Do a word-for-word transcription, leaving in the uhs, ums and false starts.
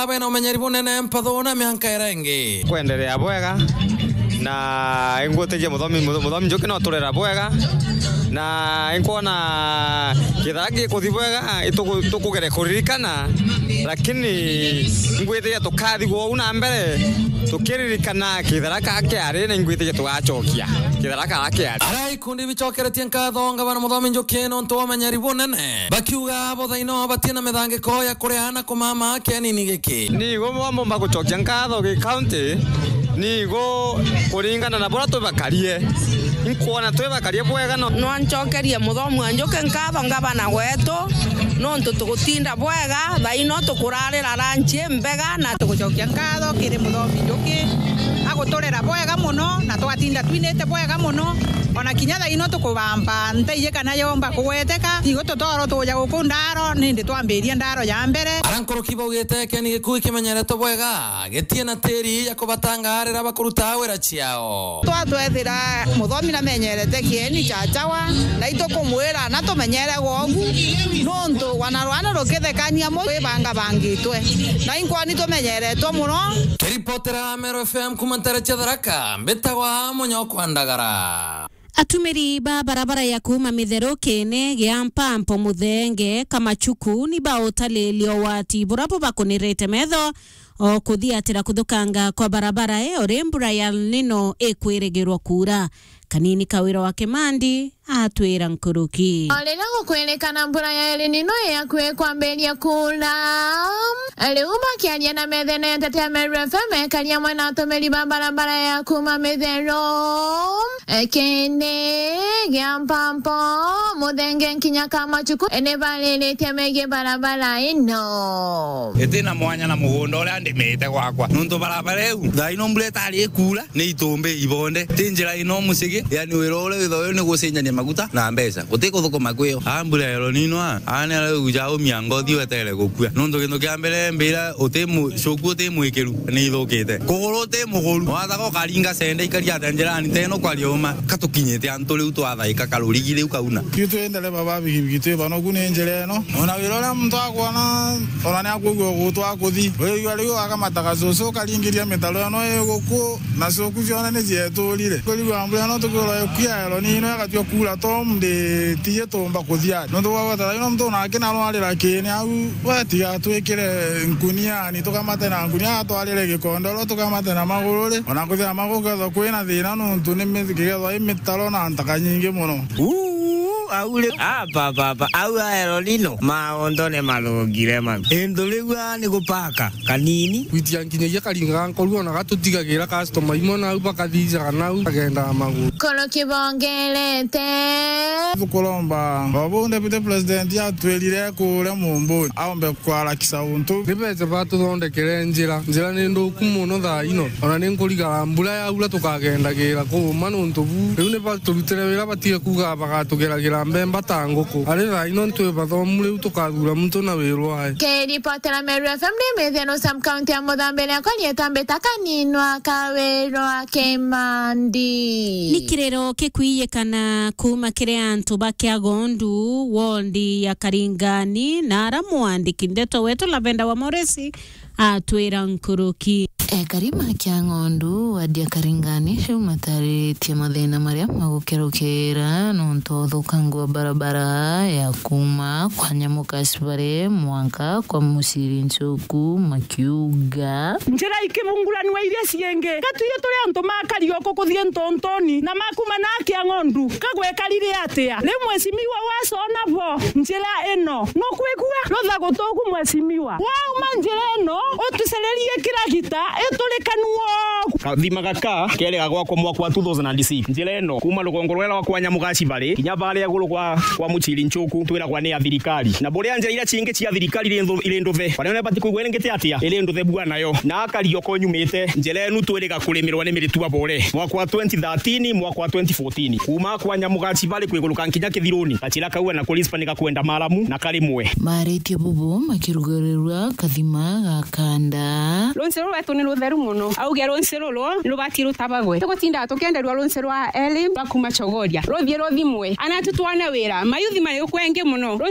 Abe na umenyeri bunene mpathu na mianka iria ingi. Kwenderea bwega, na ingwitikia muthomi, muthomi Njuki no turera bwega, na inkwona kithara gikuthi bwega, ituku-, tukugere kuririkana, lakini ingwitikia tukathi gwou na mbere, tukiririkana kithara ka kiari, na ingwitikia tugacokia kithara ka kiari. Ara ikundi bicokeretie nkatho ngavana muthomi Njuki nontu wa umenyeri bunene, bakiuga bo thaino batina mithangiko ya kuria na kumama kianini giki. Ni igo bwa mbomba gucokia nkatho gi county, ni igo kuringana na buria twibakarie. Inkwona twibakarie bwega no. Nwancokerie muthomi wa Njuki nkatho ngavana wetu, nontu tugutinda bwega, thaino tukurarira ranchi imbega na tugucokia nkatho kiri muthomi Njuki, aguturera bwega muno, na twatinda twinite bwega muno, ona kinya thaino tukubamba nteiji kana yomba kugweteka, igo tutoro tuja guku ndaro, nindi twambiria ndaro ya mbere. Ara nkuruki baugite kieni gikuu kimenyeretwe bwega, gitie na tiri ya kubatangaarira bakuruta wira ciao. Twatwethira muthomi namenyerete kieni cha chawa, na itukumwira na tumenyere gwogu, nontu wana rwana rukithekania mu rwibangabangitwe, na inkwoni tumenyeretwe muno. Kiripotera Meru F M kuma ntere cia Tharaka, mbitagwa Munyokwa Ndagara. Atumiri ba barabara ya kuuma Mitheru kiene gia Mpampo Muthenge Kamachuku ni bautalilia ugwati bura bubakunirite metho o kuthiatira kuthukanga kwa barabara iyo ri mbura ya El Nino ikwirigirwa kuura. Kanini Kawira wa Kimandi atwira nkuruki. O riria gukwirikana mbura ya El Nino yakui kwambiria kuura, riu bakiaria na methene ya Ntetea Meru F M, ekaria amwe na atumiri ba barabara ya kuuma Mitheru, Ekene gia Mpampo, Muthenge nkinya Kamachuku, ni bariritie megie barabara ino. Itina mwanya na mugunda uria ndimite gwakwa, nontu barabara iu thaa ino mbura itari ikuura, ni itumbi ibonde. Ti njira ino mucigi, yani wira uria witho uyu ni gucenjania maguta na mbeca, guti kuthukuma kwio. A mbura ya El Nino a, a ni aria uja umia ngothi wetere gukua, nontu gintu kia mbere mbira uti mu-, cuku uti mwikiru ni ithukite. Kuguru uti muguru, wathaga ukaringa sende ikaria ata njirani teno kwaria uma. Katukinyite antu riu twathaika karurigi riu kauna. Itwi ndereba ba bigibigi twi banogu ni njira ino. Ona wira uria muntu akwona, ona ni akwigua gutwa kuthi. Wigua riu akamataga cucu ukaringiria mitaro ino iguku, na cuku ciona ni cieturire. Kurigua mbura ino tukwirwa ikuya El Nino igatua kuura to ndi tiji tumba kuthia. Nontu bwa gweterera ino muntu nake narwarira kiini au, we tiga atwikire nkuniani, tukamate na nkunia, atwarire gikondoro, tukamate na maguru ri. Ona kuthia maguru kethwa kwina thina nontu ni mi-, kigethwa i mitaro na ntaka nyingi muno. Uu, au ri, apa, apa, apa, au a El Nino, maondo ni mathungire ma. Intu riu a ni gupaka kanini. Gwitia nkinyagia karinga nkoru ona gatutigagira customer imwe nau bakathijaga nau bagendaga maguru. Koro kibongerete. Tukuromba o bu Deputy President atwirire kuria Mumbuni aombe kwarakisa untu. Ni bece batuthondekere njira. Njira ni nthuku muno thaa ino. Ona ni nkurigara mbura yaura tukagendagira kuuma nontu bu. Riu ni baturutire wira batige kuuga bagatugeragira mbemba ta nguku. Ari thaa ino ntwi bathomu riu tukathura muntu na wirwae. Kiripotera Meru F M ni Mithia no Sam County ya Muthambi, riakwa rietwa mbita Kaninwa Kawirwa Kimandi. Ni kiriro kikwiyikana kuuma kiri antu ba Kiagondu, wondi ya Karingani, na ara mwandiki ndeto wetu Lavenda wa Moresi atwira nkuruki. Ekari ma Kiang'ondu, wadi ya Karingani, riu matariritie mathina maria magukerukira nontu wa uthukangu wa barabara ya kuuma kwa Nyamuka Cibare mwanka kwa Muciri Nchuku, makiuga, njira ikibunguranua iria ciingi, gatuire turi antu ma Karioko kuthii Ntontoni na ma kuuma na Kiang'ondu, kagwekarire atia? Riu mwecimiwa wacona bo njira ino, nukwigua ruthagu tuku mwecimiwa? Wauma njira ino, utucererie kiragita, iturikanu ogu. Kathima gaka kerega gwakwa mwaka wa two thousand and six. Njira ino, kuuma rugongo rwera rwa kwa Nyamuga Cibari, kinya baria iguru kwa, kwa Muciri Nchuku, twiragwa ni ya thirikari. Na buria njira iria cingi cia thirikari iri nthu-, iri nduthe. Baria ibati kwigua iringite atia? Iri nduthe bua nayo. Na Karioko nyumite, njira inu twiriga kurimirwa ni miritu abore. Mwaka wa twenty thirteen, mwaka wa twenty fourteen. Kuuma kwa Nyamuga Cibari kwiguruka nkinya Kithiruni. Gachira kau na Kurispa ni gakwenda maramu na karimwe. Maaritie bubu makirugarirua kathima ga kanda. Runsi ruru rwetu ni rutheru muno. Auge runsi ruru ni rubati rutabagwe. Tugutinda tukienderua runsi rwa Eli rwa kuuma Chogoria. Ruthie ruthimwe. Ana tutwane wira. Mayuthi mari ukwengi muno.